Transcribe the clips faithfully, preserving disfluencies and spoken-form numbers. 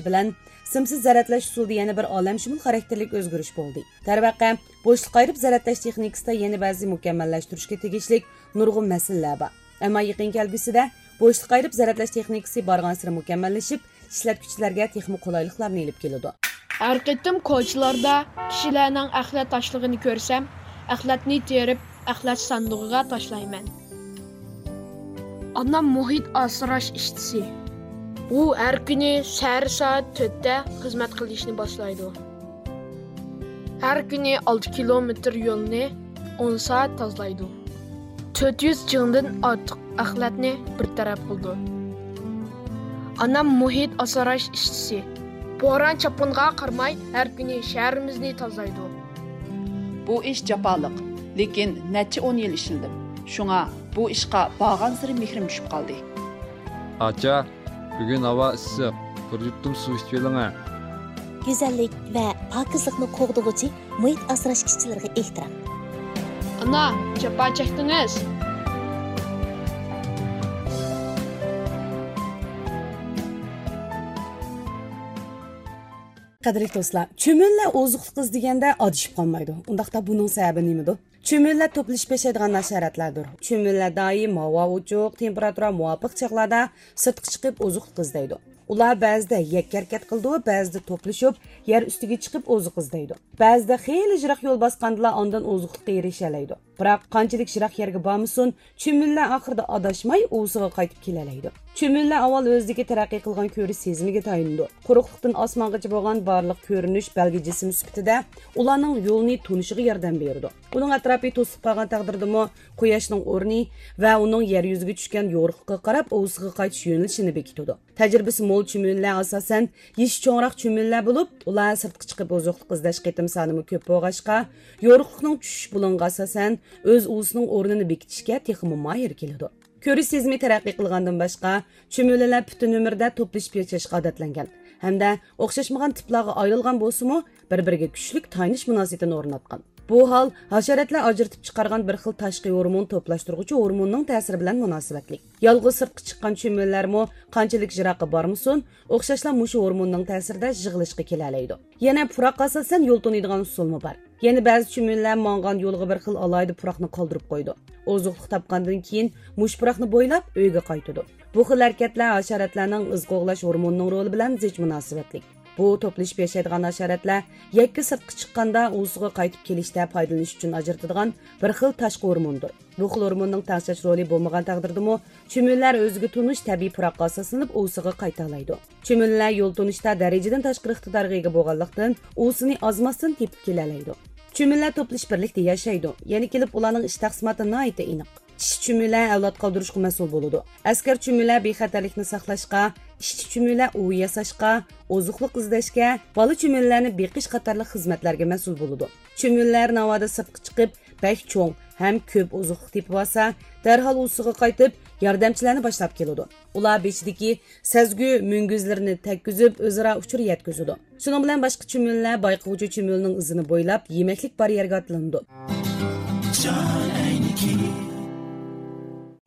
بىلەن، سىمسىز زەرەتلەش ئۇسۇلىدا يەنە بىر ئالەمشۇمۇل خاراكتېرلىك ئۆزگىرىش بولدى. دەرۋەقە، بوشلۇق ئايرىپ زەرەتلەش تېخنىكىسىدا يەنە بەزى مۇكەممەللەشتۈرۈشكە تېگىشلىك نۇرغۇن مەسىلىلەر بار. ئەمما يېقىن كەلگۈسىدە بوشلۇق ئايرىپ زەرەتلەش تېخنىكىسى بارغانسېرى مۇكەممەللىشىپ، ئىشلەتكۈچىلەرگە تېخىمۇ قولايلىقلارنى ئېلىپ كېلىدۇ. ھەر قېتىم كوچىلاردا كىشىلەرنىڭ ئەخلەت تاشلىغىنى كۆرسەم، ئەخلەتنى تېرىپ، ئەخلەت ساندۇقىغا تاشلايمەن. ئانام مۇھىت ئاسراش ئىشچىسى. ئۇ ھەر كۈنى سەھەر سائەت تۆتتە خىزمەت قىلىشنى باشلايدۇ. ھەر كۈنى ئالتە كىلومېتىر يولنى ئون سائەت تازىلايدۇ. تۆت يۈز جىڭدىن ئارتۇق ئەخلەتنى بىر تەرەپ قىلىدۇ. ئانام مۇھىت ئاسراش ئىشچىسى. بوران-چاپقۇنغا قارىماي، ھەر كۈنى شەھىرىمىزنى تازىلايدۇ. بۇ ئىش جاپالىق، لېكىن نەچچە ئون يىل ئىشلىدىم. شۇڭا بۇ ئىشقا بارغانسېرى مېھرىم چۈشۈپ قالدى. ئاچا، بۈگۈن ھاۋا ئىسسىق، بىر يۇتۇم سۇ ئىچىۋېلىڭە. گۈزەللىك ۋە پاكىزلىقنى قوغدىغۇچى مۇھىت ئاسراش ئىشچىلىرىغا ئېھتىرام. ئانا، جاپا چەكتىڭىز. قەدىرلىك دوستلار، چۈمۈلىلەر ئوزۇقلۇق ئىزدىگەندە ئادىشىپ قالمايدۇ. ئۇنداقتا بۇنىڭ سەۋەبى نېمىدۇ؟ چۈمۈلىلەر توپلىشىپ ياشايدىغان ھاشاراتلاردۇر. چۈمۈلىلەر دائىم ھاۋا ئوچۇق، تېمپېراتۇرا مۇۋاپىق چاغلاردا سىرتقا چىقىپ ئوزۇقلۇق ئىزدەيدۇ. ئۇلار بەزىدە يەككە ھەرىكەت قىلىدۇ، بەزىدە توپلىشىپ يەر ئۈستىگە چىقىپ ئوزۇق ئىزدەيدۇ. بەزىدە خېلى يىراق يول باسقاندىلا ئاندىن ئوزۇقلۇققا ئېرىشەلەيدۇ. بىراق قانچىلىك يىراق يەرگە بارمىسۇن، چۈمۈلىلەر ئاخىرىدا ئاداشماي ئۇۋىسىغا قايتىپ كېلەلەيدۇ. چۈمۈلىلەر ئاۋۋال ئۆزىدىكى تەرەققىي قىلغان كۆرۈش سېزىمىگە تايىنىدۇ. قۇرۇقلۇقتىن ئاسمانغىچە بولغان بارلىق كۆرۈنۈش بەلگە جىسمى سۈپىتىدە ئۇلارنىڭ يولىنى تونۇشىغا ياردەم بېرىدۇ. ئۇنىڭ ئەتراپى توسۇلۇپ قالغان تەقدىردىمۇ، قۇياشنىڭ ئورنى ۋە ئۇنىڭ يەر يۈزىگە چۈشكەن يورۇقلۇقىغا قاراپ ئۇۋىسىغا قايتىش يۆنىلىشىنى بېكىتىدۇ. تەجرىبىسى مول چۈمۈلىلەر ئاساسەن يېشى چوڭراق چۈمۈلىلەر بولۇپ، ئۇلار سىرتقا چىقىپ ئوزۇقلۇق ئىزدەش قېتىم سانىمۇ كۆپ بولغاچقا، يورۇقلۇقنىڭ چۈشۈش بۇلۇڭىغا ئاساسەن ئۆز ئۇۋىسىنىڭ ئورنىنى بېكىتىشكە تېخىمۇ ماھىر كېلىدۇ. كۆرۈش سېزىمى تەرەققىي قىلغاندىن باشقا، چۈمۈلىلەر پۈتۈن ئۆمرىدە توپلىشىپ ياشاشقا ئادەتلەنگەن ھەمدە ئوخشاشمىغان تىپلارغا ئايرىلغان بولسىمۇ، بىر-بىرىگە كۈچلۈك تايىنىش مۇناسىۋىتىنى ئورناتقان. بۇ ھال ھاشاراتلار ئاجرىتىپ چىقارغان بىر خىل تاشقى ھورمون توپلاشتۇرغۇچى ھورموننىڭ تەسىرى بىلەن مۇناسىۋەتلىك. يالغۇز سىرتقا چىققان چۈمۈلىلەرمۇ قانچىلىك يىراققا بارمىسۇن، ئوخشاشلا مۇشۇ ھورموننىڭ تەسىرىدە يىغىلىشقا كېلەلەيدۇ. يەنە پۇراققا ئاساسەن يول تونۇيدىغان ئۇسۇلمۇ بار. يەنە بەزى چۈمۈلىلەر ماڭغان يولىغا بىر خىل ئالاھىدە پۇراقنى قالدۇرۇپ قويىدۇ. ئوزۇقلۇق تاپقاندىن كېيىن مۇشۇ پۇراقنى بويلاپ ئۆيىگە قايتىدۇ. بۇ خىل ھەرىكەتلەر ھاشاراتلارنىڭ ئىز قوغلاش ھورمونىنىڭ رولى بىلەن زىچ مۇناسىۋەتلىك. بۇ توپلىشىپ ياشايدىغان ھاشاراتلار يەككە سىرتقا چىققاندا ئۇۋىسىغا قايتىپ كېلىشتە پايدىلىنىش ئۈچۈن ئاجرىتىدىغان بىر خىل تاشقى ھورموندۇر. بۇ خىل ھورموننىڭ تەڭشەش رولى بولمىغان تەقدىردىمۇ، چۈمۈلىلەر ئۆزىگە تونۇش تەبىئىي پۇراققا ئاساسلىنىپ ئۇۋىسىغا قايتالايدۇ. چۈمۈلىلەر يول تونۇشتا دەرىجىدىن تاشقىرى ئىقتىدارغا ئىگە بولغانلىقتىن، ئۇۋىسىنى ئازماستىن تېپىپ كېلەلەيدۇ. چۈمۈلىلەر توپلىشىپ بىرلىكتە ياشايدۇ. يەنە كېلىپ ئۇلارنىڭ ئىش تەقسىماتى ناھايىتى ئېنىق. ئىشچى چۈمۈلە ئەۋلاد قالدۇرۇشقا مەسئۇل بولىدۇ. ئەسكەر چۈمۈلە بىخەتەرلىكنى ساقلاشقا، ئىشچى چۈمۈلە ئۇۋا ياساشقا، ئوزۇقلۇق ئىزدەشكە، بالا چۈمۈلىلەرنى بېقىش قاتارلىق خىزمەتلەرگە مەسئۇل بولىدۇ. چۈمۈلىلەر ناۋادا سىرتقا چىقىپ، بەك چوڭ ھەم كۆپ ئوزۇقلۇق تېپىۋالسا، دەرھال ئۇۋىسىغا قايتىپ، ياردەمچىلەرنى باشلاپ كېلىدۇ. ئۇلار بېشىدىكى سەزگۈ مۈڭگۈزلىرىنى تەگكۈزۈپ، ئۆزئارا ئۇچۇر يەتكۈزىدۇ. شۇنىڭ بىلەن باشقا چۈمۈلىلەر بايقىغۇچى چۈمۈلىنىڭ ئىزىنى بويلاپ، يېمەكلىك بار يەرگە ئاتلىنىدۇ.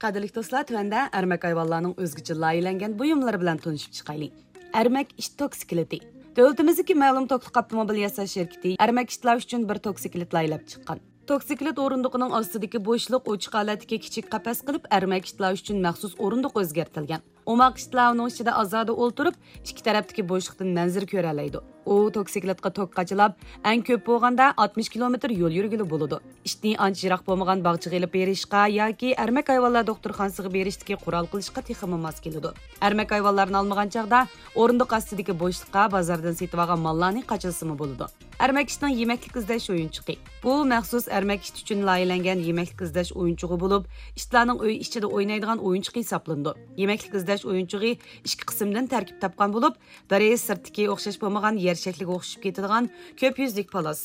قەدىرلىك دوستلار، تۆۋەندە ئەرمەك ھايۋانلارنىڭ ئۆزگىچە لايىھەلەنگەن بۇيۇملىرى بىلەن تونۇشۇپ چىقايلى. ئەرمەك ئىت توكسىكلىتى. دۆلىتىمىزدىكى مەلۇم توكلۇق ئاپتوموبىل ياساش شىركىتى ئەرمەك ئىتلار ئۈچۈن بىر توكسىكلىت لايىھەلەپ چىققان. توكسىكلىت ئورۇندۇقىنىڭ ئاستىدىكى بوشلۇق ئوچۇق ھالەتتىكى كىچىك قەپەس قىلىپ، ئەرمەك ئىتلار ئۈچۈن مەخسۇس ئورۇندۇق ئۆزگەرتىلگەن. ئوماق ئىتلار ئۇنىڭ ئىچىدە ئازادە ئولتۇرۇپ، ئىككى تەرەپتىكى بوشلۇقتىن مەنزىرە كۆرەلەيدۇ. ئۇ توكسىكلىتقا توك قاچىلاپ، ئەڭ كۆپ بولغاندا ئاتمىش كىلومېتىر يول يۈرگىلى بولىدۇ. ئىتنى ئانچە يىراق بولمىغان باغچىغا ئېلىپ بېرىشقا ياكى ئەرمەك ھايۋانلار دوختۇرخانىسىغا بېرىشتىكى قورال قىلىشقا تېخىمۇ ماس كېلىدۇ. ئەرمەك ھايۋانلارنى ئالمىغان چاغدا ئورۇندۇق ئاستىدىكى بوشلۇققا بازاردىن سېتىۋالغان ماللارنى قاچىلىسىمۇ بولىدۇ. ئەرمەك ئىتنىڭ يېمەكلىك ئىزدەش ئويۇنچۇقى. بۇ مەخسۇس ئەرمەك ئىت ئۈچۈن لايىھەلەنگەن يېمەكلىك ئىزدەش ئويۇنچۇقى بولۇپ، ئىتلارنىڭ ئۆي ئىچىدە ئوينايدىغان ئويۇنچۇقى ھېسابلىنىدۇ. يېمەكلىك ئىزدەش ئويۇنچۇقى ئىككى قىسىمدىن تەركىب تاپقان بولۇپ، بىرى سىرتتىكى ئوخشاش بولمىغان يەر شەكلىگە ئوخشىشىپ كېتىدىغان كۆپ يۈزلۈك پالاس.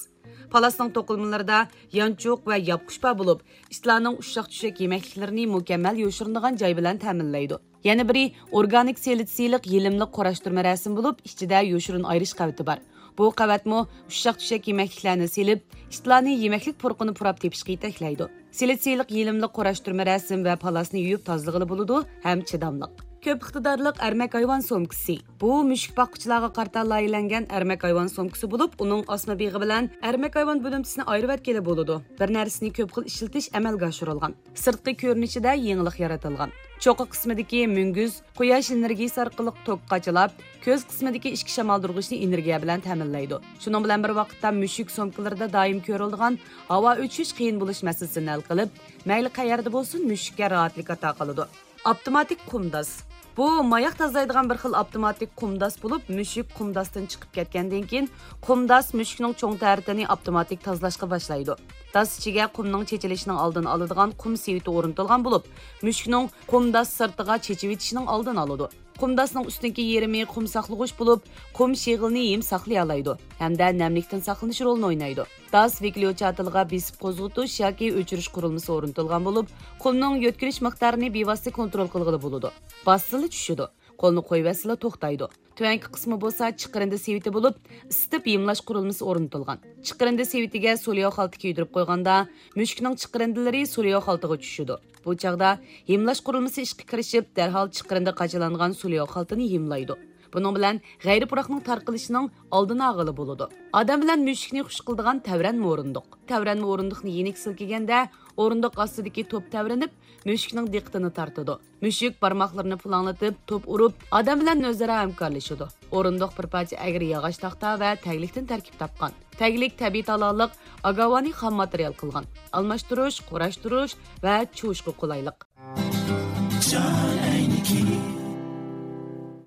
پالاسنىڭ توقۇلمىلىرىدا يانچۇق ۋە ياپقۇچ بار بولۇپ، ئىتلارنىڭ ئۇششاق چۈشەك يېمەكلىكلىرىنى مۇكەممەل يوشۇرۇنىدىغان جاي بىلەن تەمىنلەيدۇ. يەنە بىرى ئورگانىك سىلىتسىيلىق يېلىملىق قۇراشتۇرما رەسىم بولۇپ، ئىچىدە يوشۇرۇن ئايرىش قەۋىتى بار. بۇ قەۋەتمۇ ئۇششاق چۈشەك يېمەكلىكلەرنى سېلىپ، ئىتلارنى يېمەكلىك پۇرىقىنى پۇراپ تېپىشقا يېتەكلەيدۇ. سىلىتسىيلىق يېلىملىق قۇراشتۇرما رەسىم ۋە پالاسنى يۇيۇپ تازىلىغىلى بولىدۇ ھەم چىداملىق. كۆپ ئىقتىدارلىق ئەرمەك ھايۋان سومكىسى. بۇ مۈشۈك باققۇچىلارغا قارىتا لايىھەلەنگەن ئەرمەك ھايۋان سومكىسى بولۇپ، ئۇنىڭ ئاسما بېغى بىلەن ئەرمەك ھايۋان بۆلۈمچىسىنى ئايرىۋەتكىلى بولىدۇ. بىر نەرسىنى كۆپ خىل ئىشلىتىش ئەمەلگە ئاشۇرۇلغان. سىرتقى كۆرۈنۈشىدە يېڭىلىق يارىتىلغان. چوققا قىسمىدىكى مۈڭگۈز قۇياش ئېنېرگىيىسى ئارقىلىق توك قاچىلاپ، كۆز قىسمىدىكى ئىچكى شامالدۇرغۇچنى ئېنېرگىيە بىلەن تەمىنلەيدۇ. شۇنىڭ بىلەن بىر ۋاقىتتا، مۈشۈك سومكىلىرىدا دائىم كۆرۈلىدىغان ھاۋا ئۆتۈشۈش قىيىن بولۇش مەسىلىسىنى ھەل قىلىپ، مەيلى قەيەردە بولسۇن، مۈشۈككە راھەتلىك ئاتا قىلىدۇ. ئاپتوماتىك قۇم داس. بۇ ماياق تازىلايدىغان بىر خىل ئاپتوماتىك قۇم داس بولۇپ، مۈشۈك قۇم داستىن چىقىپ كەتكەندىن كېيىن، قۇم داس مۈشۈكنىڭ چوڭ تەرىتىنى ئاپتوماتىك تازىلاشقا باشلايدۇ. داس ئىچىگە قۇمنىڭ چېچىلىشىنىڭ ئالدىنى ئالىدىغان قۇم سېۋىتى ئورنىتىلغان بولۇپ، مۈشۈكنىڭ قۇم داس سىرتىغا چېچىۋېتىشىنىڭ ئالدىنى ئالىدۇ. قۇم داسنىڭ ئۈستۈنكى يېرىمى قۇم ساقلىغۇچ بولۇپ، قۇم شېغىلنى ھىم ساقلىيالايدۇ ھەمدە نەملىكتىن ساقلىنىش رولىنى ئوينايدۇ. داس ۋىكليو چاتىلىغا بېسىپ قوزغىتىش ياكى ئۆچۈرۈش قۇرۇلمىسى ئورنىتىلغان بولۇپ، قۇمنىڭ يۆتكىلىش مىقدارىنى بىۋاسىتە كونترول قىلغىلى بولىدۇ. باسسىلا چۈشىدۇ، قولنى قويۇۋەتسىلا توختايدۇ. تۆۋەنكى قىسمى بولسا چىقىرىندى سېۋىتى بولۇپ، ئىسسىتىپ ھىملاش قۇرۇلمىسى ئورنىتىلغان. چىقىرىندى سېۋىتىگە سولياۋ خالتا كىيدۈرۈپ قويغاندا، مۈشۈكنىڭ چىقىرىندىلىرى سولياۋ خالتىغا چۈشىدۇ. بۇ چاغدا ھىملاش قۇرۇلمىسى ئىشقا كىرىشىپ، دەرھال چىقىرىندى قاچىلانغان سولياۋ خالتىنى ھىملايدۇ. بۇنىڭ بىلەن غەيرىي پۇراقنىڭ تارقىلىشىنىڭ ئالدىنى ئالغىلى بولىدۇ. ئادەم بىلەن مۈشۈكنى خۇش قىلىدىغان تەۋرەنمە ئورۇندۇق. تەۋرەنمە ئورۇندۇقنى يېنىك سىلكىگەندە، ئورۇندۇق ئاستىدىكى توپ تەۋرىنىپ، مۈشۈكنىڭ دىققىتىنى تارتىدۇ. مۈشۈك بارماقلىرىنى پۇلاڭلىتىپ، توپ ئۇرۇپ، ئادەم بىلەن ئۆزئارا ھەمكارلىشىدۇ. ئورۇندۇق بىر پارچە ئەگرى ياغاچ تاختا ۋە تەگلىكتىن تەركىب تاپقان. تەگلىك تەبىئىي تالالىق ئاگاۋانى خام ماتېرىيال قىلغان. ئالماشتۇرۇش، قۇراشتۇرۇش ۋە چۇۋۇشقا قولايلىق.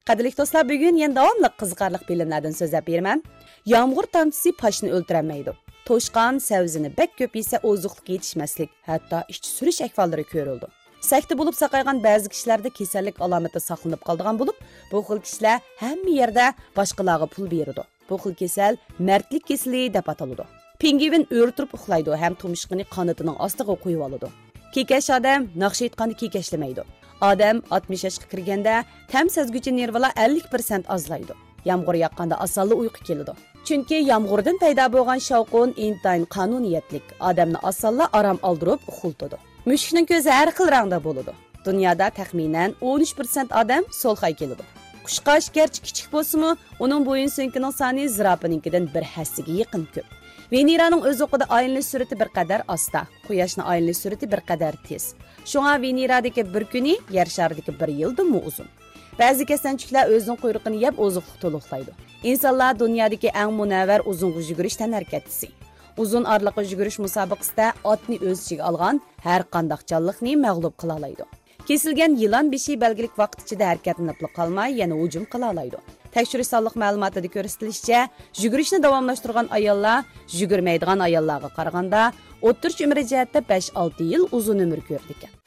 قەدىرلىك دوستلار، بۈگۈن يەنە داۋاملىق قىزىقارلىق فىلىملەردىن سۆزلەپ بېرىمەن. يامغۇر تامچىسى پاشنى ئۆلتۈرەلمەيدۇ. توشقان سەۋزىنى بەك كۆپ يېسە، ئوزۇقلۇق يېتىشمەسلىك، ھەتتا ئىچى سۈرۈش ئەھۋاللىرى كۆرۈلىدۇ. سەكتە بولۇپ ساقايغان بەزى كىشىلەردە كېسەللىك ئالامىتى ساقلىنىپ قالىدىغان بولۇپ، بۇ خىل كىشىلەر ھەممە يەردە باشقىلارغا پۇل بېرىدۇ. بۇ خىل كېسەل مەردلىك كېسىلى دەپ ئاتىلىدۇ. پىڭگۋىن ئۆرە تۇرۇپ ئۇخلايدۇ ھەم تۇمشۇقىنى قانىتىنىڭ ئاستىغا قويۇۋالىدۇ. كېكەچ ئادەم ناخشا ئېيتقاندا كېكەچلىمەيدۇ. ئادەم ئاتمىش ياشقا كىرگەندە تەم سەزگۈچى نېرۋىلار ئەللىك پىرسەنت ئازلايدۇ. يامغۇر ياغقاندا ئاسانلا ئۇيقۇ كېلىدۇ. چۈنكى يامغۇردىن پەيدا بولغان شاۋقۇن ئىنتايىن قانۇنىيەتلىك، ئادەمنى ئاسانلا ئارام ئالدۇرۇپ ئۇخلىتىدۇ. مۈشۈكنىڭ كۆزى ھەر خىل رەڭدە بولىدۇ. دۇنيادا تەخمىنەن ئون ئۈچ پىرسەنت ئادەم سولخاي كېلىدۇ. قۇشقاچ گەرچە كىچىك بولسىمۇ، ئۇنىڭ بويۇن سۆڭىكىنىڭ سانى زىراپىنىڭكىدىن بىر ھەسسىگە يېقىن كۆپ. ۋېنېرانىڭ ئۆز ئوقىدا ئايلىنىش سۈرئىتى بىر قەدەر ئاستا، قۇياشنىڭ ئايلىنىش سۈرئىتى بىر قەدەر تېز. شۇڭا ۋېنېرادىكى بىر كۈنى يەر شارىدىكى بىر يىلدىنمۇ ئۇزۇن. بەزى كەسەنچۈكلەر ئۆزىنىڭ قۇيرۇقىنى يەپ ئوزۇقلۇق تولۇقلايدۇ. ئىنسانلار دۇنيادىكى ئەڭ مۇنەۋۋەر ئۇزۇنغا يۈگۈرۈش تەنھەرىكەتچىسى. ئۇزۇن ئارىلىققا يۈگۈرۈش مۇسابىقىسىدە ئاتنى ئۆز ئىچىگە ئالغان ھەر قانداق جانلىقنى مەغلۇپ قىلالايدۇ. كېسىلگەن يىلان بېشى بەلگىلىك ۋاقىت ئىچىدە ھەرىكەتلىنىپلا قالماي، يەنە ھۇجۇم قىلالايدۇ. تەكشۈرۈش سانلىق مەلۇماتىدا كۆرسىتىلىشىچە، يۈگۈرۈشنى داۋاملاشتۇرغان ئاياللار يۈگۈرمەيدىغان ئاياللارغا قارىغاندا ئوتتۇرىچە ئۆمرى جەھەتتە بەش-ئالتە يىل ئۇزۇن ئۆمۈر كۆرىدىكەن.